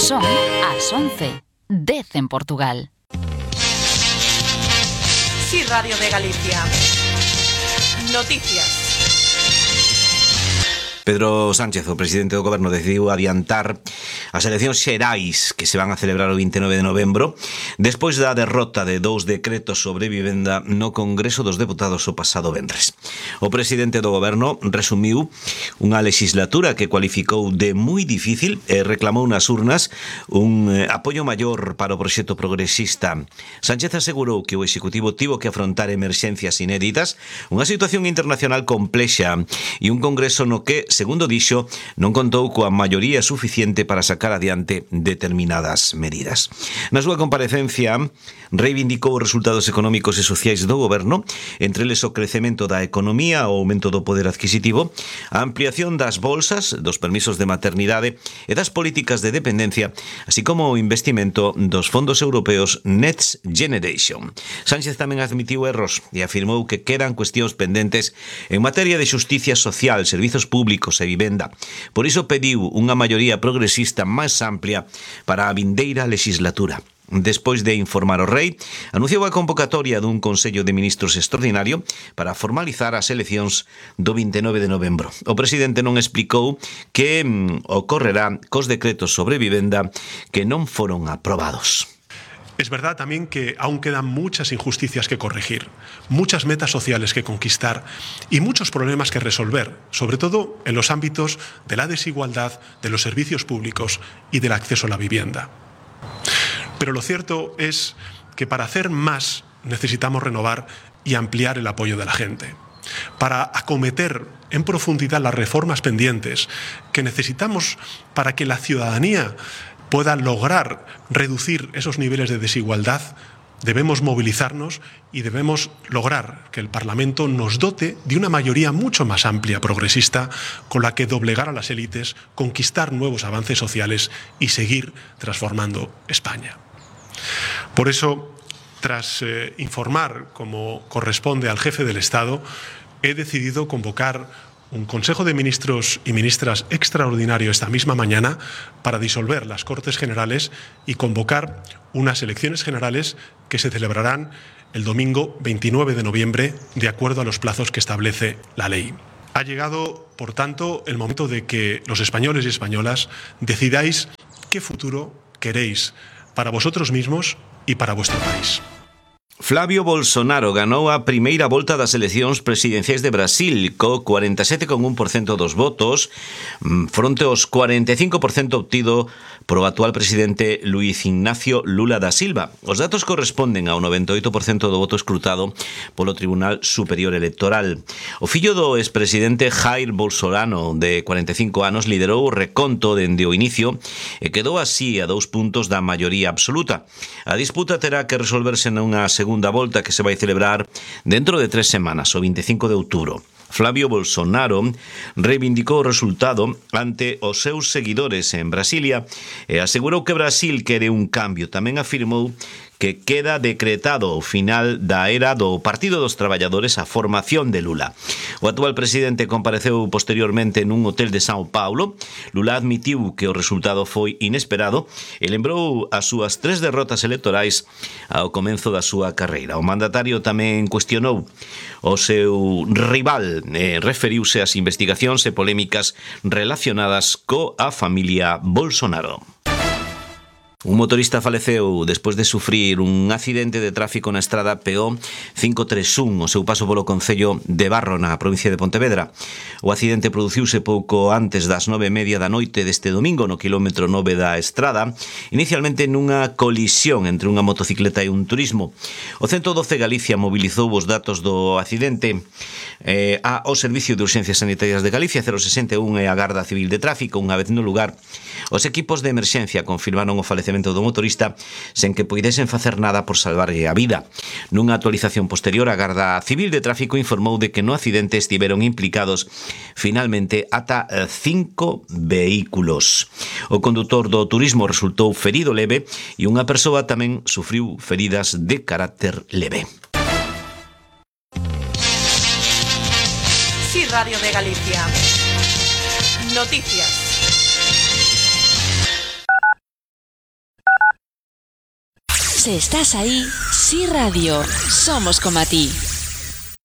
Son as 11:10 en Portugal. Sí, Radio de Galicia. Noticias. Pedro Sánchez, o presidente do Goberno, decidiu adiantar as eleccións xerais que se van a celebrar o 29 de novembro despois da derrota de 2 decretos sobre vivenda no Congreso dos Deputados o pasado venres. O presidente do Goberno resumiu unha legislatura que cualificou de moi difícil e reclamou nas urnas un apoio maior para o proxecto progresista. Sánchez asegurou que o Executivo tivo que afrontar emerxencias inéditas, unha situación internacional complexa e un Congreso no que, segundo dixo, non contou coa maioría suficiente para sacar adiante determinadas medidas. Na súa comparecencia, reivindicou os resultados económicos e sociais do Goberno, entre eles o crecemento da economía, o aumento do poder adquisitivo, a ampliación das bolsas, dos permisos de maternidade e das políticas de dependencia, así como o investimento dos fondos europeos Next Generation. Sánchez tamén admitiu erros e afirmou que quedan cuestións pendentes en materia de xusticia social, servizos públicos e vivenda. Por iso pediu unha maioría progresista máis amplia para a vindeira legislatura. Despois de informar o rei, anunciou a convocatoria dun Consello de Ministros extraordinario para formalizar as eleccións do 29 de novembro. O presidente non explicou que ocorrerá cos decretos sobre vivenda que non foron aprobados. Es verdad también que aún quedan muchas injusticias que corregir, muchas metas sociales que conquistar y muchos problemas que resolver, sobre todo en los ámbitos de la desigualdad, de los servicios públicos y del acceso a la vivienda. Pero lo cierto es que para hacer más necesitamos renovar y ampliar el apoyo de la gente. Para acometer en profundidad las reformas pendientes que necesitamos para que la ciudadanía pueda lograr reducir esos niveles de desigualdad, debemos movilizarnos y debemos lograr que el Parlamento nos dote de una mayoría mucho más amplia progresista con la que doblegar a las élites, conquistar nuevos avances sociales y seguir transformando España. Por eso, tras informar como corresponde al jefe del Estado, he decidido convocar un Consejo de Ministros y Ministras extraordinario esta misma mañana para disolver las Cortes Generales y convocar unas elecciones generales que se celebrarán el domingo 29 de noviembre de acuerdo a los plazos que establece la ley. Ha llegado, por tanto, el momento de que los españoles y españolas decidáis qué futuro queréis para vosotros mismos y para vuestro país. Flavio Bolsonaro ganou a primeira volta das eleccións presidenciais de Brasil co 47,1% dos votos fronte aos 45% obtido pro actual presidente Luiz Ignacio Lula da Silva. Os datos corresponden ao 98% do voto escrutado polo Tribunal Superior Electoral. O fillo do expresidente Jair Bolsonaro, de 45 anos, liderou o reconto dende o inicio e quedou así a 2 puntos da maioría absoluta. A disputa terá que resolverse nunha segunda volta que se vai celebrar dentro de 3 semanas, o 25 de outubro. Flavio Bolsonaro reivindicou o resultado ante os seus seguidores en Brasilia e asegurou que Brasil quere un cambio. Tamén afirmou que queda decretado o final da era do Partido dos Traballadores a formación de Lula. O actual presidente compareceu posteriormente nun hotel de São Paulo. Lula admitiu que o resultado foi inesperado e lembrou as súas 3 derrotas electorais ao comezo da súa carreira. O mandatario tamén cuestionou o seu rival e referiuse ás investigacións e polémicas relacionadas coa familia Bolsonaro. Un motorista faleceu despois de sufrir un accidente de tráfico na estrada PO 531 o seu paso polo concello de Barro na provincia de Pontevedra. O accidente produciuse pouco antes das 9:30 da noite deste domingo no quilómetro 9 da estrada, inicialmente nunha colisión entre unha motocicleta e un turismo. O 112 Galicia mobilizou os datos do accidente ao Servicio de Urxencias Sanitarias de Galicia, 061 e a Garda Civil de Tráfico. Unha vez no lugar, os equipos de emerxencia confirmaron o falecemento do motorista sen que poidesen facer nada por salvarlle a vida. Nunha actualización posterior, a Garda Civil de Tráfico informou de que no accidente estiveron implicados finalmente ata 5 vehículos. O condutor do turismo resultou ferido leve e unha persoa tamén sufriu feridas de carácter leve. Sí, Radio de Galicia. Noticias. Si estás ahí, Sí Radio, somos como a ti.